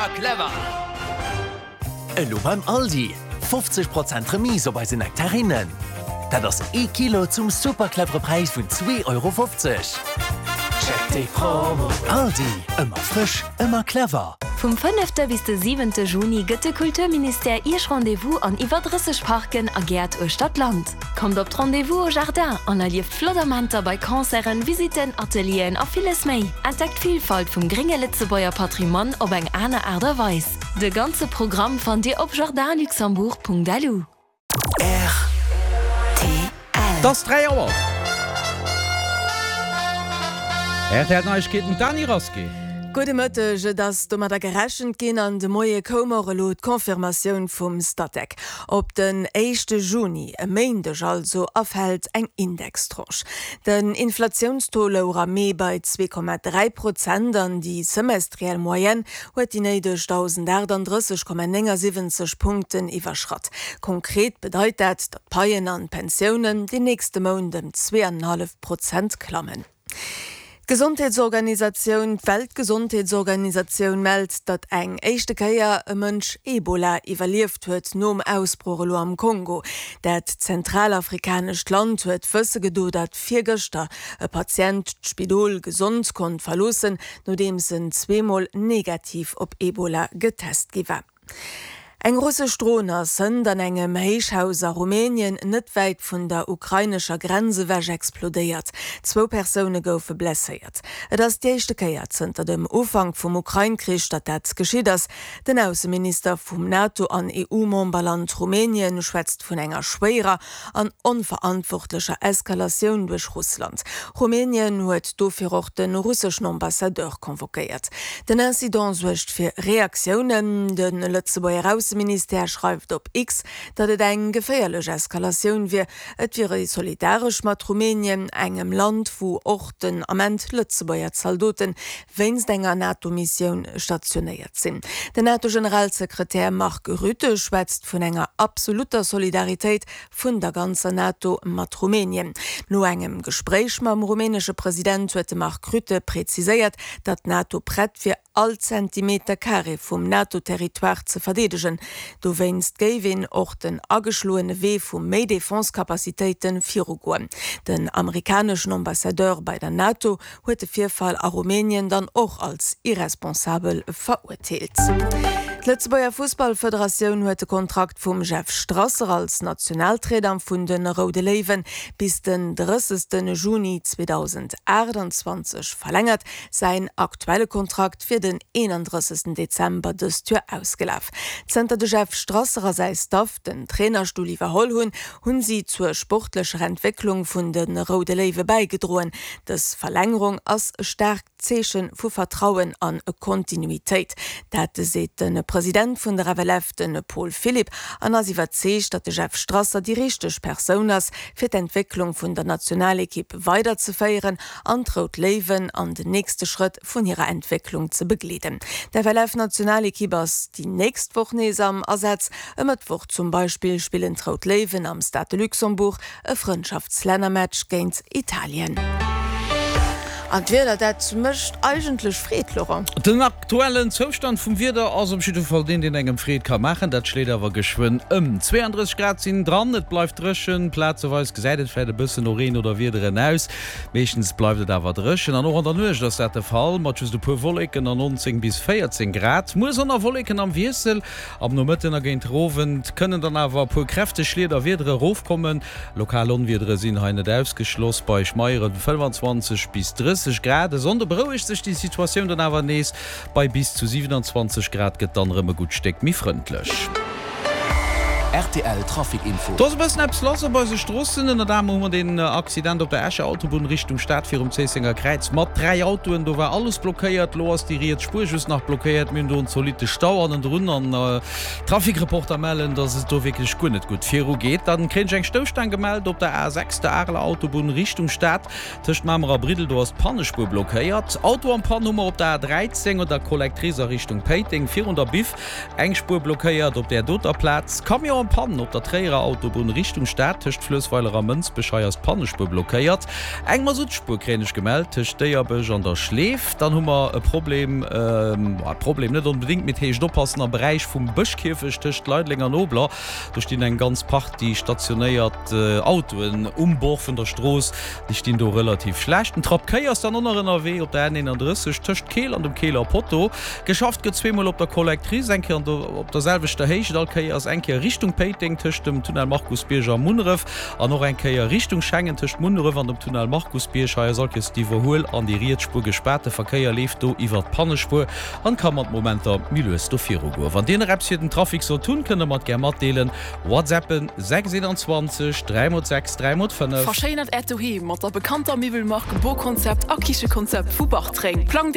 Ëmmer clever! Elo beim Aldi, 50 Prozent Remise op eise Nektarinnen. Dat ass ee Kilo zum super clevere Präis vun 2,50 Euro. Check déi Promo! Aldi, ëmmer frësch, ëmmer clever! Vum fënnefte bis de siwente Juni gëtt de Kulturministère Iech Rendez-vous an iwwer 30 Parken a Gäert uechter d'Land. Kommt op d'Rendez-vous au Jardin an erlieft flott Amenter bei Concerten, Visitten, Atelieren a villes méi. Entdeckt d'Villfalt vum grénge Lëtzebuerger Patrimoine op eng aner Aart a Weis. De ganze Programm fannt Dir op jardinluxembourg.lu. Rtl. Et ass 3 Auer. Rtl Neiegkeeten, d'Dany Rasqué. Gudde Mëtteg. Et ass domadder gerechent ginn an de Moie koum och elo d'Confirmatioun vum Statec. Op den éischte Juni, e Méindeg also, erfält eng Indextranche. Den Inflatiounstaux louch am Mee bei 2,3 Prozent an déi semestriell Moyenne huet déi néideg 1.038,79 Punkten iwwerschratt. Konkret bedeit dat, datt d'Paien an d'Pensiounen den nächste Mount ëm 2,5 Prozent klammen. D'Gesondheetsorganisatioun, d'Weltgesondheetsorganisatioun mellt, datt eng éischte Kéier e Mënsch Ebola iwwerlieft huet nom Ausbroch elo am Kongo. Dat zentralafrikanescht Land huet wësse gedo, datt virgëschter e Patient d'Spidol gesond konnt verloossen, nodeems en zweemol negativ op Ebola getest gi war. Eng russesch Dron ass hënt an engem Héichhaus a Rumänien, net wäit vun der ukrainescher Grenz ewech, explodéiert. Zwou Persoune goufe blesséiert. Et ass déi éischte Kéier zënter dem Ufank vum Ukrain-Krich, datt dat geschitt ass. Den Ausseminister vum NATO an EU-Memberland Rumänien schwätzt vun enger schwéierer an onverantwortlecher Eskalatioun duerch Russland. Rumänien huet dofir och de russeschen Ambassadeur convoquéiert. Den Incident suergt fir Reaktiounen. De Lëtzebuerger Ausseministère schreift op X, datt et eng geféierlech Eskalatioun wier. Et wier ee solidaresch mat Rumänien, engem Land, wou och den Ament Lëtzebuerger Zaldote wéinst enger NATO-Missioun stationéiert sinn. Den NATO-Generalsekretär Mark Rutte schwätzt vun enger absolutter Solidaritéit vun der ganzer NATO mat Rumänien. No engem Gespréich mam rumänesche President huet de Mark Rutte preziséiert, datt d'NATO prett wier, all Zentimeter Carré vum NATO-Territoire ze verdeedegen. Dowéinst géif een och den ageschloene Wee vu méi Defense-Capacitéite virugoen. Den amerikaneschen Ambassadeur bei der NATO huet de Virfall a Rumänien dann och als irresponsabel verurteelt. D'Lëtzebuerger Fussballfederatioun huet de Kontrakt vum Jeff Strasser als Nationaltrainer vun de Roude Léiwe bis den 30. Juni 2028 verlängert. Säin aktuelle Kontrakt wier den 31. Dezember dëst Joer ausgelaf. Zënter de Jeff Strasser a säi Staff den Trainerstull iwwerholl hunn, hunn si zur sportlecher Entwécklung vun de Roude Léiwe bäigedroen. Dës Verlängerung ass e staarkt Zeeche vu Vertrauen an Kontinuitéit. Dat seet de President vun der FLF, de Paul Philipp, an ass iwwerzeegt, datt de Jeff Strasser déi richteg Persoun ass, fir d'Entwécklung vun der Nationalekipp weiderzeféieren an d'Rout Léiwen an den nächste Schrëtt vun hirer Entwécklung ze begleeden. D'FLF-Nationalekipp ass déi nächst Woch nees am Asaz. E Mëttwoch zum Beispill spillen d'Rout Léiwen am Stade de Luxembourg e Frëndschaftslännermatch géint Italien. An d'Wieder, dat mécht eigentlech Freed, Laurent. Den aktuellen Zoustand vum Wieder ass op jidde Fall deen, deen engem Freed ka maachen. Dat schléit awer geschwënn ëm. 32 Grad sinn dran, et bleift dréchen, plazeweis gesäit et vläit e bëssen no Reen oder Wiederen aus. Meeschtens bleift et awer dréchen an och an der Nuecht ass dat de Fall, mat just e puer Wolleken an 19 bis 14 Grad. Muer Sonn a Wolleken am Wiessel. Am Nomëtten a géint Owend kënnen dann awer e puer kräfteg Schliet a Wiedere erofkommen. Lokal Onwiedere sinn hei net ausgeschloss, bei schmeiere 25 bis 30 Grad. E Sonnde berouegt sech déi Situatioun dann awer nees, bei bis zu 27 Grad gëtt dann erëm e gutt Stéck méi frëndlech. Rtl Trafic Info. Do ass e bëssen eppes lass op eise Stroossen. Ënnert anerem hu mer deen Accident op der Escher Autobunn Richtung Stad virum Zéissenger Kräiz mat 3 Autoen. Do war alles blockéiert. Lo ass déi riets Spuer just nach blockéiert. Mir hunn do en zolitte Stau hannendrun an d'Trafic-Reporter mellen, dass et do wierklech guer net gutt viru geet. Dann kréien ech eng Stousstaang gemellt op der A6, der Areler Autobunn Richtung Stad tëscht Mamer a Briddel. Do ass d'Pannespuer blockéiert. Auto en Panne hu mer op der A13 un der Collectrice a Richtung Péiteng virun der Biff. Eng Spuer blockéiert op där doter Plaz. Camion. Camion en panne op der Tréierer Autobunn Richtung Stad tëscht Fluessweiler a Mënsbech. Hei ass d'Pannespuer blockéiert. Eng Masuttspuer kréien ech gemellt tëscht Déierbech an der Schleef. Dann hu mer e Problem, e Problem net onbedéngt, mee et heescht oppassen am Beräich vum Bëschkierfecht tëscht Leideleng an Obler. Do stinn eng ganz Partie stationéiert Autoen um Bord vun der Strooss. Déi stinn do relativ schlecht. En Trapp Kéi ass dann och nach ënnerwee op der N31 tëscht Keel an dem Keeler Potto. Geschafft gëtt zweemol op der Collectrice, eng Kéier op der selwechter Héicht all Kéiers, eng Kéier Richtung Péiteng tëscht dem Tunnel Markusbierg a Munneref an och eng Kéier Richtung Schengen tëscht Munneref an dem Tunnel Markusbierg. Hei ass all Kéiers d'Iwwerhuel an déi riets Spuer gespaart. De Verkéier leeft do iwwer d'Pannespuer an ka mat Momenter méi lues do viru goen. Wann Dir nach eppes fir den Trafic sollt hunn, kënnt der mer et gär matdeelen. Whatsappen 6 21 3 x 6 3 x 5. Verschéinert Äert Doheem mat der bekannter Miwwelmark Boconcept a Kichekonzept vu Bartreng. Plangt Är.